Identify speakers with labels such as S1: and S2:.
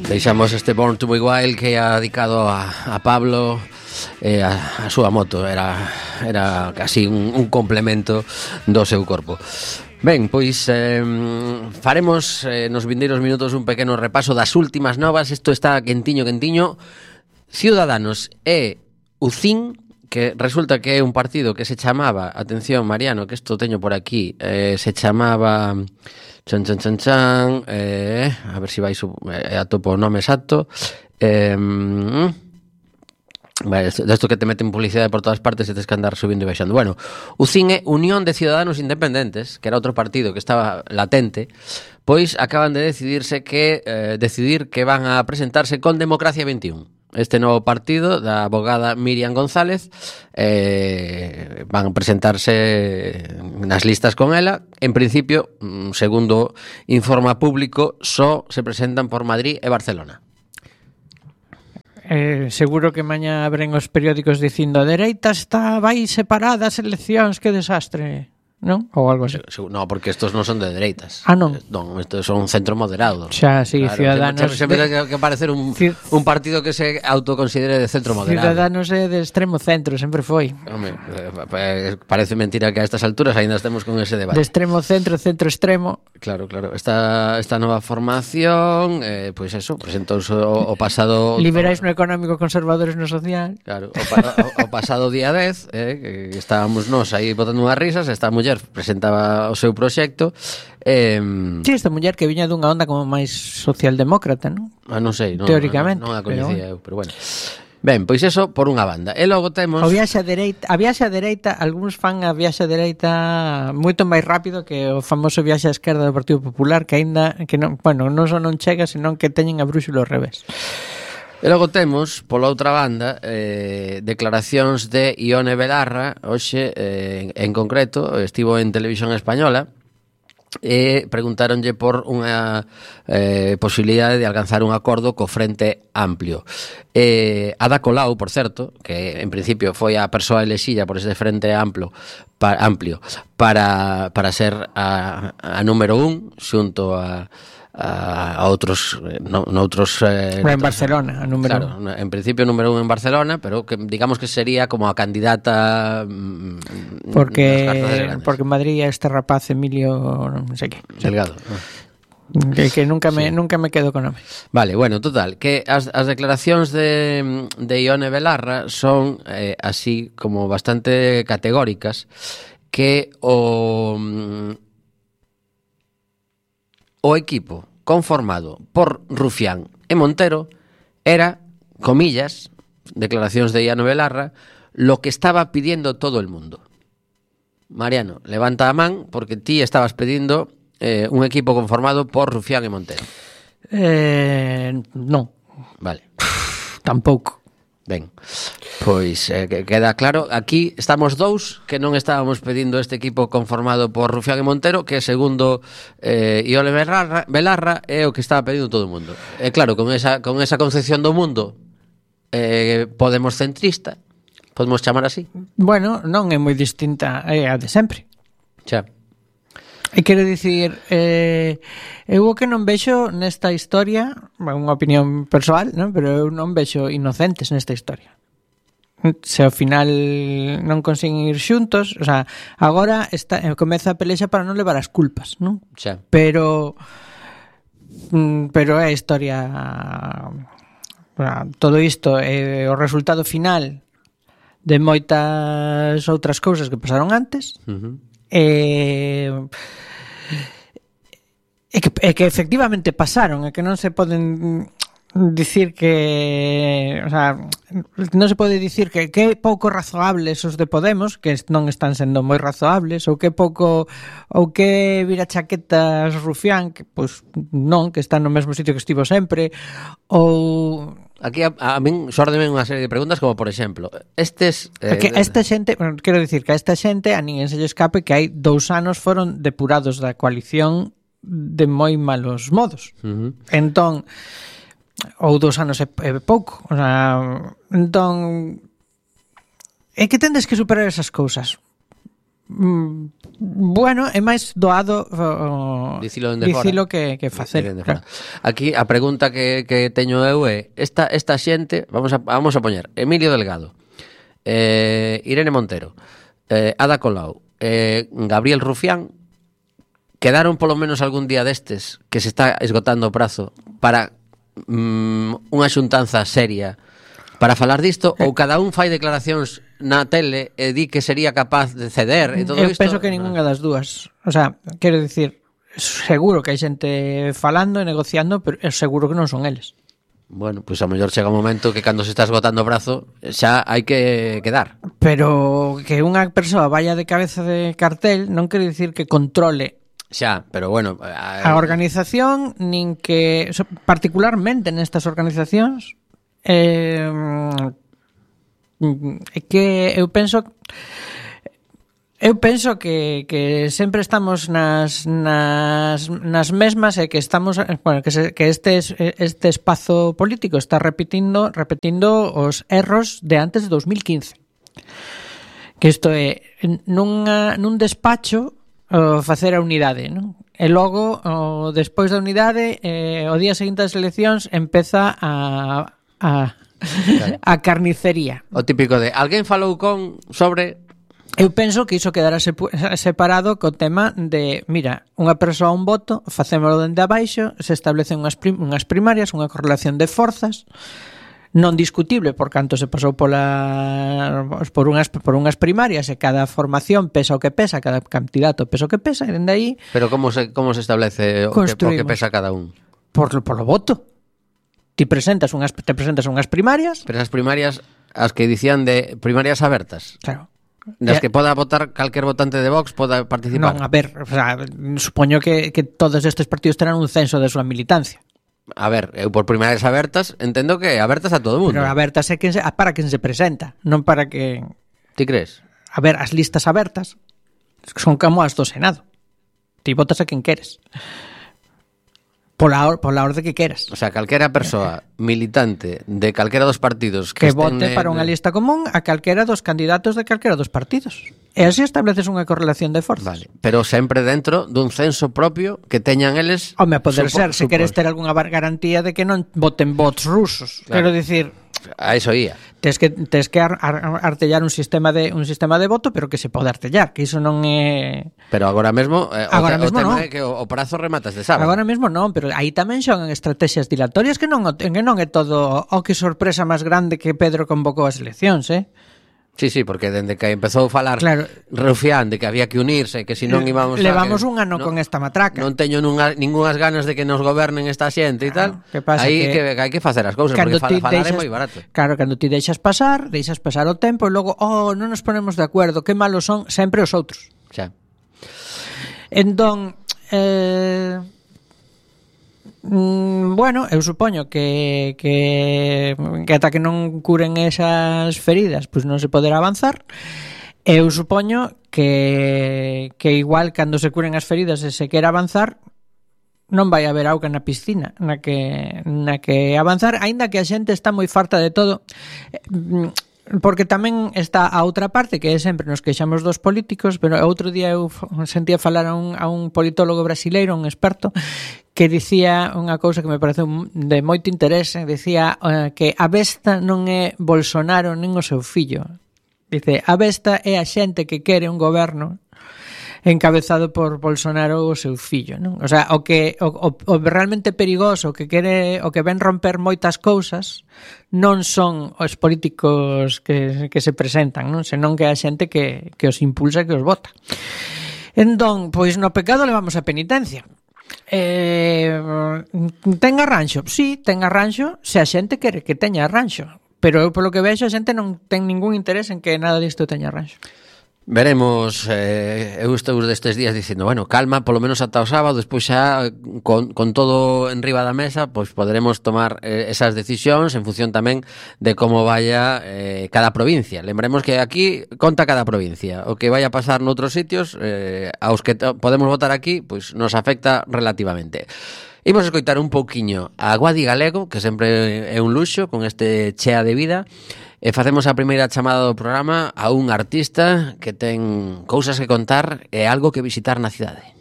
S1: Deixamos este Born to be Wild que é dedicado a Pablo e a súa moto. Era casi un complemento do seu corpo. Ben, pois faremos nos vindeiros minutos un pequeno repaso das últimas novas. Isto está quentiño. Ciudadanos e UCIN, que resulta que é un partido que se chamaba, atención Mariano, que isto teño por aquí, se chamaba a ver se vai atopo o nome exacto, desto que te meten publicidade por todas partes e tens que andar subindo e baixando. Bueno, UCIN é Unión de Ciudadanos Independentes, que era outro partido que estaba latente, pois acaban de decidir que van a presentarse con Democracia 21. Este novo partido da abogada Miriam González van a presentarse nas listas con ela. En principio, segundo informa Público, só se presentan por Madrid e Barcelona.
S2: Seguro que mañá abren os periódicos dicindo a dereita vai separada as eleccións, que desastre, non? Ou algo así.
S1: No, porque estos non son de dereitas.
S2: Ah, non.
S1: Non, estos son centro moderado.
S2: Xa, sí,
S1: claro,
S2: Ciudadanos.
S1: Sempre ten que parecer un partido que se autoconsidere de centro moderado.
S2: Ciudadanos é de extremo centro, sempre foi.
S1: Home, parece mentira que a estas alturas ainda estemos con ese debate.
S2: De extremo centro, centro extremo.
S1: Claro. Esta nova formación, pois eso, presentouse o pasado...
S2: Liberais no económico, conservadores no social.
S1: Claro, o pasado día 10, que estábamos nós aí botando unhas risas, esta muller presentaba o seu proxecto.
S2: Sí, esta muller que viña dunha onda como máis socialdemócrata, non?
S1: Non sei,
S2: teóricamente,
S1: non a coñecía eu, pero bueno. Ben, pois eso por unha banda. E logo temos
S2: a viaxe a dereita, algúns fan a viaxe a dereita moito máis rápido que o famoso viaxe á esquerda do Partido Popular, que aínda que non, bueno, non só non chega, senón que teñen a brúxula ao revés.
S1: E logo temos, pola outra banda, declaracións de Ione Belarra. Hoxe, en concreto, estivo en Televisión Española e preguntáronlle por unha posibilidade de alcanzar un acordo co Frente Amplio. Ada Colau, por certo, que en principio foi a persoa elexida por ese Frente Amplio para ser a número 1 xunto a outros noutros
S2: en Barcelona, a número
S1: claro, en principio número 1 en Barcelona, pero que digamos que sería como a candidata
S2: porque en Madrid este rapaz Emilio non sei que
S1: Delgado,
S2: que nunca me quedo con nome.
S1: Vale, bueno, total, que as declaracións de Ione Belarra son así como bastante categóricas, que o equipo conformado por Rufián e Montero era, comillas, declaracións de Ione Belarra, lo que estaba pidiendo todo el mundo. Mariano, levanta a man porque ti estabas pedindo un equipo conformado por Rufián e Montero.
S2: Non.
S1: Vale.
S2: Tampouco.
S1: Ben, pois queda claro. Aquí estamos dous que non estábamos pedindo este equipo conformado por Rufián e Montero, que segundo Ione Belarra é o que estaba pedindo todo o mundo. E claro, con esa concepción do mundo Podemos centrista, podemos chamar así.
S2: Bueno, non é moi distinta a de sempre.
S1: Xa.
S2: E quero dicir, eu o que non vexo nesta historia, unha opinión persoal, non? Pero eu non vexo inocentes nesta historia. Se ao final non consiguen ir xuntos, o sea, agora comeza a pelexa para non levar as culpas, non?
S1: Xa.
S2: Pero é a historia, todo isto é o resultado final de moitas outras cousas que pasaron antes. Que efectivamente pasaron, e que non se poden dicir que, o sea, non se pode dicir que pouco razoables os de Podemos, que non están sendo moi razoables, ou que pouco, ou que vira chaquetas Rufián, que pois non, que están no mesmo sitio que estivo sempre, ou
S1: aquí a min xórdeme unha serie de preguntas, como por exemplo, estes
S2: que esta xente, quero dicir que a esta xente a ninguén se lle escape que hai 2 anos foron depurados da coalición de moi malos modos. Entón, ou 2 anos é pouco, o sea, entón é que tendes que superar esas cousas. Bueno, é máis doado
S1: dicilo
S2: que facer.
S1: Claro. Aquí a pregunta que teño eu é esta xente, vamos a poñer Emilio Delgado, Irene Montero, Ada Colau, Gabriel Rufián, quedaron polo menos algún día destes que se está esgotando o prazo para unha xuntanza seria para falar disto, ou cada un fai declaracións na tele e di que sería capaz de ceder e todo isto?
S2: Eu penso que ningunha das dúas. O sea, quero dicir, seguro que hai xente falando e negociando, pero seguro que non son eles.
S1: Bueno, pois a mellor chega un momento que cando se está esgotando o brazo xa hai que quedar.
S2: Pero que unha persoa vaya de cabeza de cartel non quere dicir que controle
S1: xa, pero bueno,
S2: a organización, nin que particularmente nestas organizacións que eu penso que sempre estamos nas mesmas e que estamos, bueno, que este espazo político está repetindo os erros de antes de 2015. Que isto é nun despacho facer a unidade, non? E logo despois da unidade o día seguinte das eleccións empeza a carnicería.
S1: O típico de alguén falou sobre.
S2: Eu penso que iso quedará separado co tema de, mira, unha persoa un voto, facémolo dende abaixo, se establecen unhas primarias, unha correlación de forzas non discutible por canto se pasou por unhas primarias e cada formación pesa o que pesa, cada candidato pesa o que pesa, e dende aí.
S1: Pero como se establece o que pesa cada un?
S2: Por lo voto. Te presentas unhas primarias.
S1: Pero esas primarias, as que dicían de primarias abertas.
S2: Claro.
S1: Das que poda votar calquer votante de Vox poda participar.
S2: Non, a ver, o sea, supoño que todos estes partidos terán un censo de súa militancia.
S1: A ver, eu por primarias abertas entendo que abertas a todo o mundo.
S2: Pero abertas é para quen se presenta, non para que...
S1: Ti crees?
S2: A ver, as listas abertas son como as do Senado. Ti votas a quen queres. Pola orde que queras.
S1: O sea, calquera persoa militante de calquera dos partidos
S2: que vote para unha lista común a calquera dos candidatos de calquera dos partidos. E así estableces unha correlación de forzas.
S1: Vale, pero sempre dentro dun censo propio que teñan eles.
S2: Home, poder ser, se queres ter algunha garantía de que non voten votos rusos. Claro. Quero dicir,
S1: a eso ia.
S2: Tes que artellar un sistema de voto, pero que se pode artellar, que iso non é.
S1: Pero agora mesmo o tema
S2: non.
S1: é que o prazo rematas de sábado.
S2: Agora mesmo non, pero aí tamén xogan estrategias dilatorias que non é todo que sorpresa máis grande que Pedro convocou as eleccións,
S1: Sí, porque dende que empezou a falar, claro, Rufián de que había que unirse, que se non íbamos
S2: levamos un ano con esta matraca.
S1: Non teño ningunhas ganas de que nos gobernen esta xente e tal. Aí que hai que facer as cousas, porque falar é moi barato.
S2: Claro, cando ti deixas pasar o tempo e logo, non nos ponemos de acordo, que malos son sempre os outros.
S1: Xa.
S2: Entón, bueno, eu supoño que ata que non curen esas feridas, pois non se poderá avanzar. Eu supoño que igual cando se curen as feridas e se quera avanzar, non vai haber auga na piscina na que avanzar, aínda que a xente está moi farta de todo. Porque tamén está a outra parte, que é sempre nos queixamos dos políticos, pero outro día eu sentía falar a un politólogo brasileiro, un experto, que dicía unha cousa que me pareceu de moito interese, dicía que a besta non é Bolsonaro nin o seu fillo. Dice, a besta é a xente que quere un goberno encabezado por Bolsonaro ou o seu fillo, non? O sea, o realmente perigoso, o que ven romper moitas cousas, non son os políticos que se presentan, non? Senón que a xente que os impulsa, que os vota. Entón, pois no pecado levamos a penitencia. Ten arranxo? Sí, ten arranxo se a xente quere que teña arranxo, pero eu polo que vexo a xente non ten ningún interés en que nada disto teña arranxo.
S1: Veremos, eu estou destes días dicindo, bueno, calma, polo menos ata o sábado, despois xa con todo en riba da mesa, pois poderemos tomar esas decisións en función tamén de como vaya cada provincia. Lembremos que aquí conta cada provincia, o que vaya a pasar noutros sitios, aos que podemos votar aquí, pois nos afecta relativamente. Imos escoitar un pouquiño a Guadi Galego, que sempre é un luxo con este Chea de Vida, E facemos a primeira chamada do programa a un artista que ten cousas que contar e algo que visitar na cidade.